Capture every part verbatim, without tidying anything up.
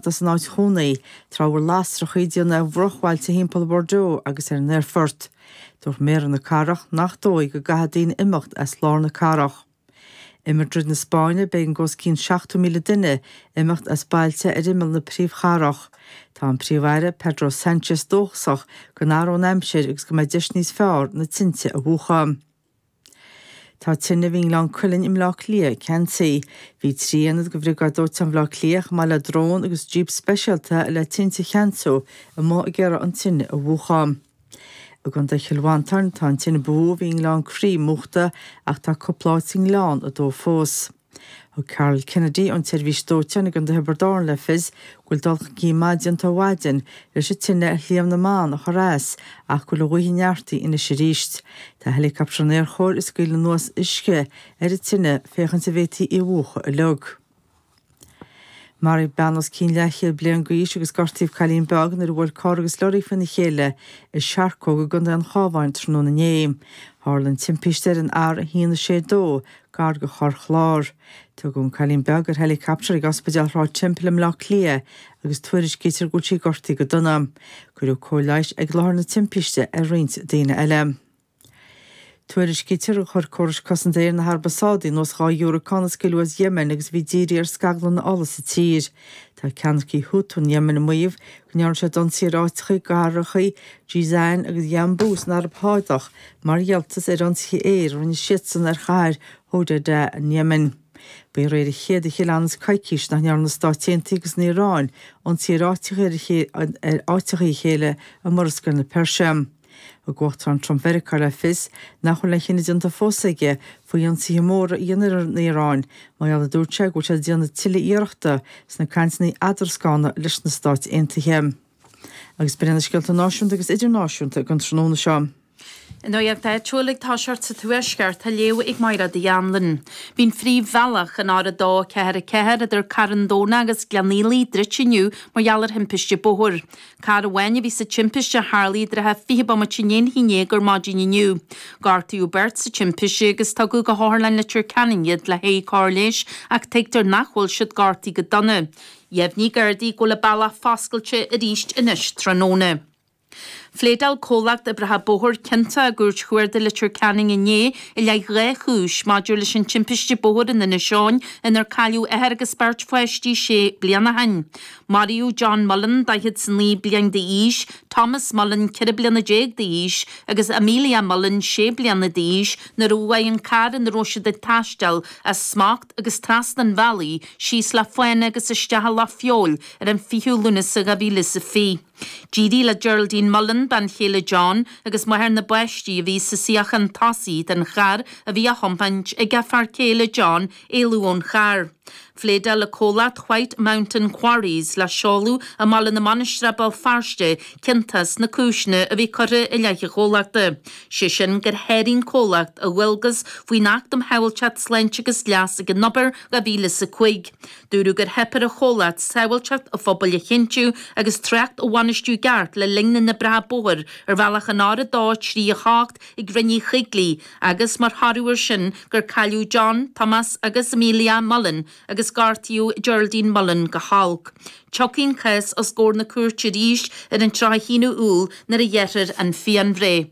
imeacht as an áit chónaí tráth a bhfuil lasracha ag déanamh ar bhruachbhailte thimpeall Bordeaux agus ar an aerfort. Dúirt méara na cathrach nach dóigh go gcaithfidh daoine imeacht as lár na cathrach. I Madrid na Spáinne b'éigean d'os cionn seachtó míle duine imeacht as bailte ar imeall na príomhchathrach. Tá an príomh-aire Pedro Sánchez dóchasach go n-athróidh an aimsir agus go mbeidh deis níos fearr na tinte a mhúchadh. Tá tine a bhí i nGleann Cuilinn i mBleá Cliath ceansaithe. Bhí trí aonad de Bhriogáid Dóiteáin Bhaile Átha Cliath chomh maith le drón agus jíp speisialta le tinte a cheansú amuigh ag iarraidh an tine a mhúchadh. I gContae Chill Mhantáin tá an tine ba mhó a bhí i nGleann Crí múchta ach tá cúpla áit sa ngleann ag dó fós. Thug Carol Kennedy ón tseirbhís dóiteáin i gContae Thiobraid Árann le fios go bhfuil dul chun cinn maith déanta ó mhaidin leis an tine ar Shliabh na mBan a chur as ach go bhfuil an ghaoth ag neartú anois arís. Tá héileacaptar an Aerchóir ag scaoileadh anuas uisce ar an tine féachaint an bhféadfaí í a mhúchadh uilig. Maraíodh bean os cionn leathchéad bliain d'aois agus gortaíodh cailín beag nuair a bhuail carr agus lorry faoina chéile i Searcóg i gContae an Chabháin tráthnóna inné. Tharla an timpiste ar an R a haon a sé dó gar do Chorr Chláir. Tugadh an cailín beag ar héileacaptar ag Ospidéal Shráid Temple i mBleá Cliath agus tuairiscítear go bhfuil sí gortaithe go dona. Cuireadh cóir leighis ag láthair na timpiste ar roinnt daoine eile. Tuairiscítear gur chuir córais cosanta aeir na hAraibe Sádaí anuas dhá dhiúracán a scaoileadh as Yemen agus bhí dírithe ar scaglanna ola sa tír. Tá ceannaircigh Houthi an Yemen ag maíomh go ndearna siad ionsaí ar áiteacha i gcathracha Jizan agus Yanbu san Araib Shádach mar ghealltas ar ionsaithe aeir a rinne siadsan ar chathair Hodeidah an Yemen. Ba aréir an chéad a cheannas coicís nach ndearna na Stáit Aontaithe agus an Iaráin ionsaí ar áiteacha ar áiteacha a chéile i Murascaill na Peirse. Thug Uachtarán Trump Mheiriceá le fios nach bhfuil aon chinneadh déanta fós aige faoi ionsaithe móra a dhéanamh ar an Iaráin, mar gheall a dúirt sé go bhfuil sé ag déanamh tuilleadh iarrachta sna cainteanna eadarascána leis na Stáit Aontaithe. Agus b'in na scéalta náisiúnta agus idirnáisiúnta don tráthnóna seo. An nuacht áitiúil ag toiseacht sa Tuaisceart á léamh ag Máire Uí Anluain. Bhí an phríomhbhealach an R a dó ceathair a ceathair idir Carn Domhnach agus Gleann Fhaola druidte inniu mar gheall ar thimpiste bóthair. Carr amháin a bhí sa timpiste a tharla i dtrátha fiche bomaite i ndiaidh a haon déag ar maidin inniu. Gortaíodh beirt sa timpiste agus tugadh go hOtharlann Leitir Ceanainn iad le haghaidh cóir leighis ach tuigtear nach bhfuil siad gortaithe go dona. Dheimhnigh Gardaí go bhfuil an bealach foscailte arís anois tráthnóna. Phléadáil comhlacht oibreacha bóthair ciontach i gCúirt Chuarda Leitir Ceanainn inné i leith dhá chúis maidir leis an timpiste bóthair in Inis Eoghain inar cailleadh athair agus beirt pháistí sé bliana ó shin. Maraíodh John Mullen daichead is a naoi bliain d'aois, Thomas Mullen ceithre bliana déag d'aois agus Amelia Mullen sé bliana d'aois nuair a bhuail an carr ina raibh siad ag taisteal as smacht agus trasna an bhealaigh síos le fána agus isteach i Loch Feabhail ar an fichiú Lúnasa dhá mhíle is a fiche. D'éirigh le Geraldine Mullen bean chéile John agus máthair na bpáistí a bhí sa suíochán tosaigh den charr a bhí á thiomáint ag a fear céile John éalú ón charr. Phléadáil le comhlacht White Mountain Quarries le seoladh i mBaile na Mainistreach Béal Feirste ciontach sna cúiseanna a bhí curtha i leith an chomhlachta. Sé sin gur sháraigh an comhlacht a dhualgas faoin Acht um Shábháilteacht Sláinte agus Leas ag an Obair dhá mhíle is a cúig. Dúradh gur theip ar an chomhlacht sábháilteacht an phobail a chinntiú agus trácht a bhainistiú i gceart le linn na n-oibreacha bóthair ar bhealach an R a dó trí a hocht ag Rinn Uí Choigligh agus mar thoradh air sin gur cailleadh John, Thomas agus Amelia Mullen agus gortaíodh Geraldine Mullen go holc. Tiocfaidh an cás os comhair na cúirte arís ar an tríocha haon Iúil nuair a ghearrfar an phianbhreith.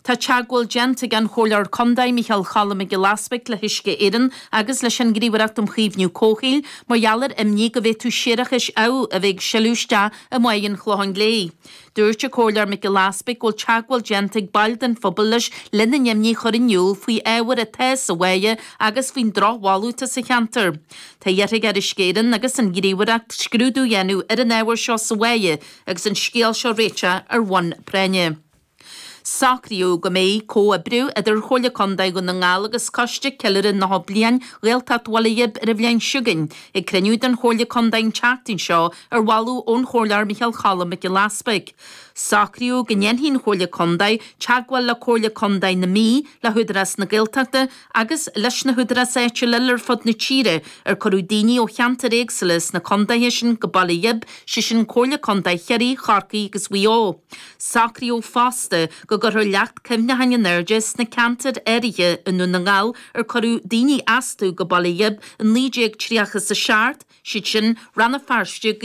Tá teagmháil déanta ag an Chomhairleoir Contae Micheál Cholm Mac Giolla Easbuig le hUisce Éireann agus leis an nGníomhaireacht um Chaomhnú Comhshaoil mar gheall ar imní go bhféadfadh séarachais amh a bheith ag sileadh isteach i mBáigh an Chlocháin Léith. Dúirt an Comhairleoir Mac Giolla Easbuig go bhfuil teagmháil déanta ag baill den phobal leis lena n-imní a chur in iúl faoi ábhar atá sa bháighe agus faoin drochbholadh atá sa cheantar. Tá iarrtha ar Uisce Éireann agus an Ghníomhaireacht scrúdú a dhéanamh ar an ábhar seo sa bháighe agus an scéal seo réiteach ar bhonn práinne. Socraíodh go mbeidh comhoibriú idir Chomhairle Contae Dhún na nGall agus Coiste Ceiliúradh Nócha Bliain Ghaeltacht Bhaile Ghib ar an bhliain seo chugainn, ag cruinniú den Chomhairle Contae an tseachtain seo ar mholadh ón Chomhairleoir Micheál Cholm Mac Giolla Easbuig. Socraíodh go ndéanfaidh an Chomhairle Contae teagmháil le Comhairle Contae na Mí, le hÚdarás na Gaeltachta agus leis na húdaráis áitiúla eile ar fud na tíre ar cuireadh daoine ó cheantair éagsúla sna contaetha sin go Baile Ghib, sé sin Comhairle Contae Chiarraí, Chorcaí agus Mhaigh Eo. Socraíodh fosta go gcuirfear leacht cuimhneacháin in airde sna ceantair áirithe i nDún na nGall ar cuireadh daoine astu go Baile Ghib in naoi déag tríocha is a seacht, siad sin Rann na Feirste, Gaoth